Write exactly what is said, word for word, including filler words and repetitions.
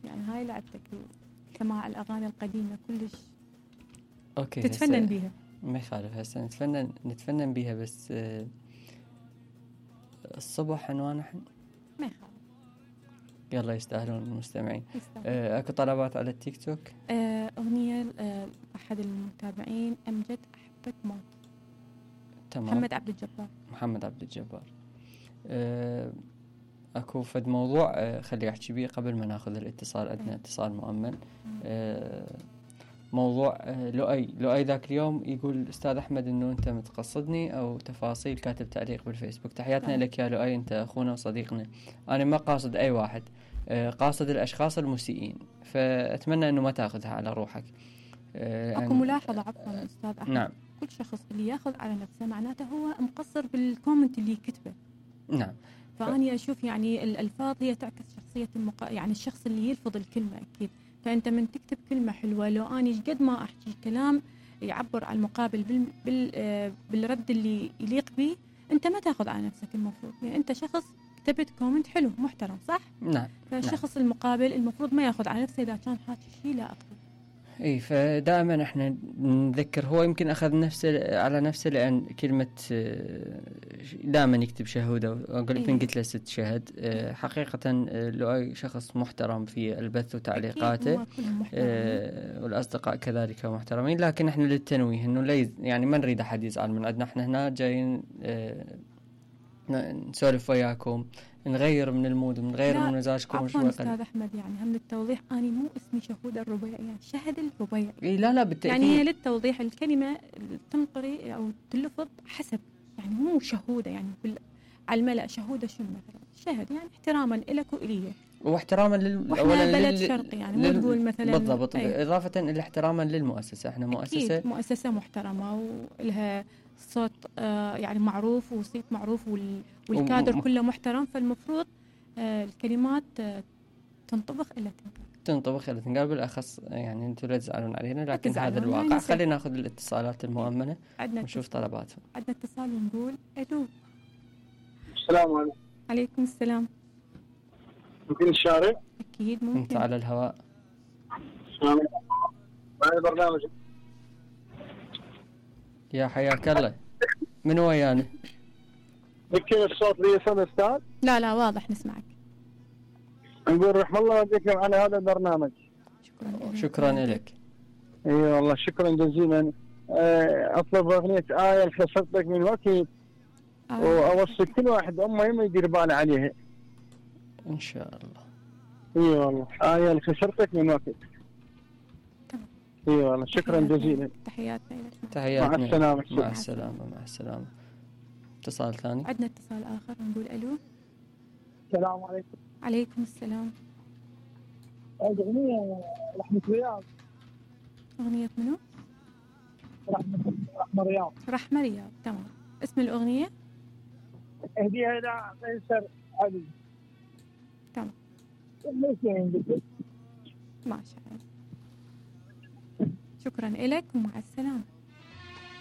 يعني هاي لعبتك سماع الأغاني القديمة كلش اوكي تتفنن بيها. ما يخالف، هسه نتفنن نتفنن بيها، بس آه الصبح عنوان احنا ما يخالف. يلا يستاهلون المستمعين. يستاهل. آه اكو طلبات على التيك توك؟ آه أغنية آه أحد المتابعين أمجد أحبك موت. تمام. محمد عبد الجبار. محمد عبد الجبار. آه اكو فد موضوع آه خلي احكي بيه قبل ما ناخذ الاتصال. عندنا اتصال مؤمن. آه موضوع آه لؤي لؤي ذاك اليوم يقول استاذ احمد انه انت متقصدني او تفاصيل، كاتب تعليق بالفيسبوك. تحياتنا لك يا لؤي، انت اخونا وصديقنا. انا ما قاصد اي واحد، آه قاصد الاشخاص المسيئين، فاتمنى انه ما تاخذها على روحك. آه اكو ملاحظه عفوا استاذ احمد. نعم. كل شخص اللي ياخذ على نفسه معناته هو مقصر بالكومنت اللي كتبه. نعم. فاني اشوف يعني الالفاظ هي تعكس شخصيه المق... يعني الشخص اللي يلفظ الكلمه اكيد. فانت من تكتب كلمه حلوه، لو اني قد ما احكي كلام يعبر عن المقابل بال... بال... آه بالرد اللي يليق به، انت ما تاخذ على نفسك المفروض. يعني انت شخص كتبت كومنت حلو محترم صح؟ نعم. فالشخص نعم. المقابل المفروض ما ياخذ على نفسه اذا كان حاكي شيء لا اقبل. اي فدائما احنا نذكر، هو يمكن اخذ نفسه على نفسه لان كلمه دائما يكتب شهوده، قلت من قلت له ست شهد. حقيقه لؤي شخص محترم في البث وتعليقاته، والاصدقاء كذلك محترمين، لكن احنا للتنويه انه لا يعني ما نريد احد يزعل من عندنا. احنا هنا جايين نسولف وياكم، نغير من المود، نغير من مزاجكم شوي. استاذ احمد يعني هم للتوضيح، اني مو اسمي شهود الربيعي، يعني شهد الربيعي. إيه لا لا بالتأكيد. يعني للتوضيح الكلمه تنقري او تلفظ حسب، يعني مو شهوده يعني بال... على الملأ شهوده شنو مثلا شهد، يعني احتراما لك والي واحتراما لل واحنا بلد لل... شرقي يعني مو لل... تقول مثلا بالضبط. اضافه الى احتراما للمؤسسه، احنا مؤسسه أكيد مؤسسه محترمه ولها صوت آه يعني معروف وصيت معروف وال... والكادر وم... كله محترم، فالمفروض آه الكلمات آه تنطبخ إلى تنقال تنطبخ إلى تنقال. بالأخص يعني أنتم لا تزعلون علينا، لكن هذا الواقع. يعني خلينا ناخذ الاتصالات المؤمنة ونشوف طلباتهم. عندنا اتصال ونقول ألو. السلام عليكم. عليكم السلام. ممكن الشارع؟ أكيد ممكن. أنت على الهواء. السلام عليكم. برنامج يا حياك الله. من ويانا؟ يمكن الصوت لي يسمع أستاذ؟ لا لا واضح نسمعك. نقول رحم الله والديكم على هذا البرنامج. شكرا شكرا لك. اي والله شكرا جزيلا. اطلب اغنيه آية خسرتك من وقت، آه. واوصي كل واحد امه يما يدير باله عليها ان شاء الله. اي والله آية خسرتك من وقت. اي والله شكرا جزيلا. تحياتنا لك. تحياتنا. مع السلامه. مع السلامه. مع السلامه. اتصال ثاني. عندنا اتصال اخر نقول الو. السلام عليكم. عليكم السلام. أغنية رحمة رياض. أغنية منو؟ رحمة رحمة رياض. رحمة رياض تمام. اسم الأغنية؟ اهديها إلى قيصر علي. تمام. ما شاء الله. شكرا لك ومع السلامة.